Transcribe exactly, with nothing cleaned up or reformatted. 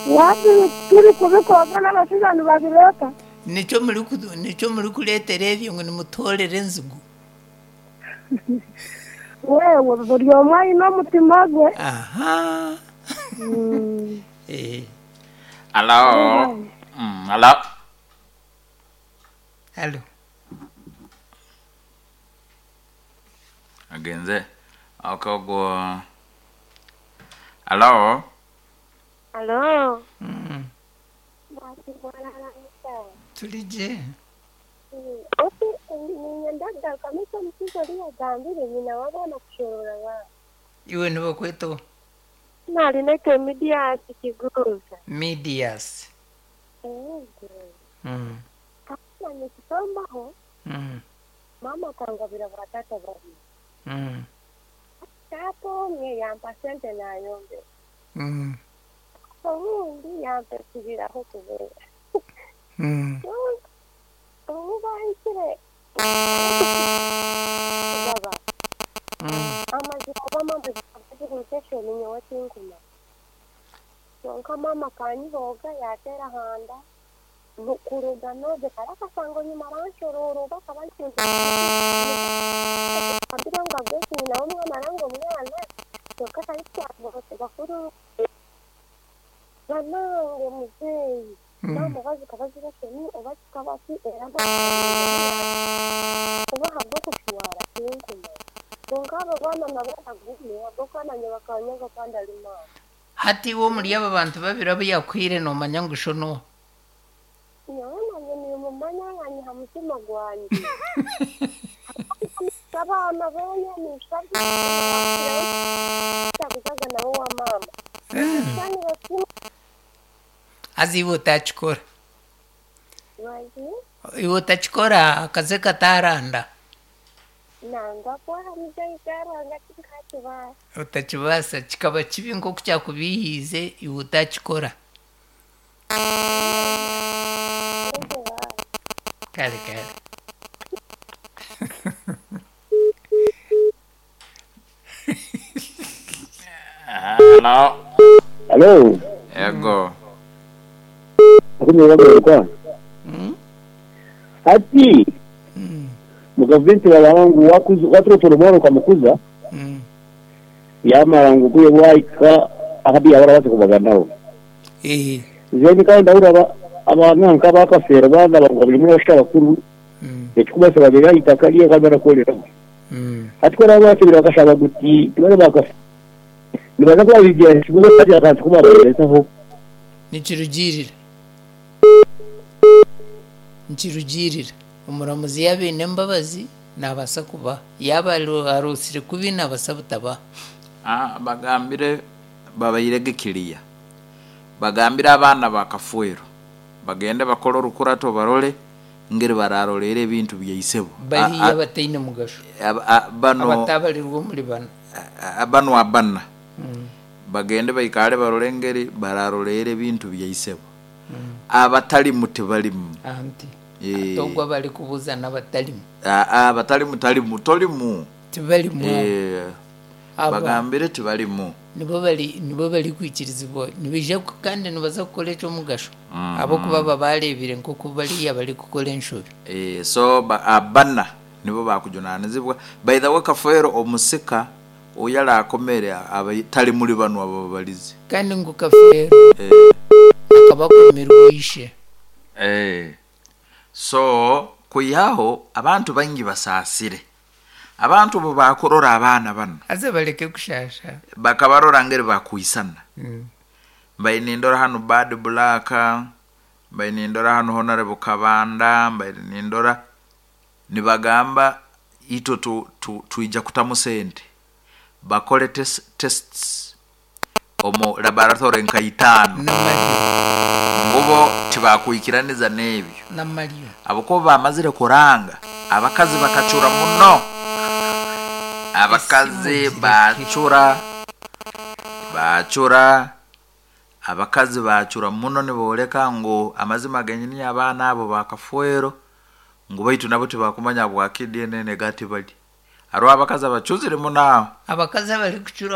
Wati turi kubikoga n'abashaija nibabireeta. Nikyo muri ku- nikyo muri kureetera ebyo ngu nimutoorera enzigu. Wewe buri omwe aine omutima gwe. Aha. Mm. Eh, Hello. Mm, hello. Halo. Agenze. Okay, go. Hello. Alo. Mm. Turi gye. Oti ninyenda kamisa omukizo oriyagambire nyina w'abaana kushorora abaana. Iwe nibakweta Narinete Midias Kiguruza. Midias. Yego. Mm. Kana nikitombaho Mm. mama akangabira ba tata babiri. Mm. Tata omwe yampa sente nayombe. Mm. Obundi yampa ekibiraho kubeera. Mm. Obu bahikire baba Mm. amazima bamama zigurutesheni nyowe tinkuma. Kyonka mama kanyihoga yateera handa kuruga noge kare akasango nyuma aranshorora oba akaba ambira ngu agwesi nyina w'omwana aranga omwana kyonka tarikyabote bakuru banange muzeeyi Mm. mama oba zikaba ziresheni oba zikaba ki era oba habw'okushwara tinkuma. Kwonka abo baana nabo bagumye ahabw'okuba nanye bakanyaga kandi ari maama. Hati iwe omuri aba bantu babiri abu yakwire noomanya ngu sho n'oha. Nyowe nanye nimumanya nkanyiha mutima gwanje. Abaana boona ninshabye kuzaga nabo wa maama. Kandi bakimwe Haza iwe otakikora. bazi Iwe otakikora akaze kataranda. nangwa kwahamije ikaranga tinkakibaasa. Otakibaasa kikaba kibi nk'oku kyakubiihiize iwe otakikora. Kare kare. Hello. Hello. Ego. Akumira Mm? Ati Mm. mugavumenti balangu wakuza waturotora omwana ukamukuza Mm. yamara ngu kuye bwaika akabi yabara baze kubaganaho Eh. nze kandi ndabura aba- abaana nk'abakafeera baana bangu buri muri bashika bakuru Mm. ekikubasa babiri itaka lye kandi barakoreraho Mm. ati ko nabo basubira bakashaba guti tibare bakafe nibaza kuba bigira ikibuga kandi akantu kubabarezaho Nikirugirira. Nikirugirira. Omuramuzi yaaba aine embabazi naabaasa kuba. Yaaba aru- aruusire kubi naabaasa butabaha. Ah, bagambire babairege kiriya. Bagambire abaana bakafuero. Bagende bakore orukurato barole ngeri bararolera ebintu byaisebo. Bariya bataine mugasho. Bano Abatabarirwa omuri bano. a- a- bano abana Mm. bagende baikare barole ngeri bararolera ebintu byaisebo. Abatalimu tebalimu. Anti. Eh. Ate ogwo abarikubuuza n'abatarimu. Ah, ah, abatalimu talimu tolimu. Tibarimu. Eh, Aba bagambire tibalimu. nibo bari nibo bari kwikirizibwa nibaija ku- kandi nibaza kukora ekyomugasho ahabw'okuba baba bareebire nk'oku bariya bari kukora enshobi. Eh, so ba, abana nibo bakujunanizibwa. By the way Kafeero omusika oyala akomere aba tali muri bano abo babalizi. Kandi ngu Kafeero Eh, akaba akomerwe ishe. eh. So kuyaho abantu baingi basaasire. Abantu bo bakurora abaana bano Haza bareke kushasha. bakabarora ngeri bakuisana. Mm. Mbaine nindora hano Bad Black, mbaine nindora hano Honorable Kabanda, mbaine nindora nibagamba ito tu, tu, tuija kutamu sente bakole tes, tests omu laboratory nka itaano Namaryo. ngubo tibakwikiraniza n'ebyo Namaryo. abakuba bamazire kuranga abakazi bakacura muno abakazi Esimu bacura bacura abakazi bacura muno niboleka ngu amazima genyini abaana abo bakafuero ngu baitu nabo tibakumanya bwaki D N A gati bali hariho abakazi abacuzire muno aho Abakazi abarikucura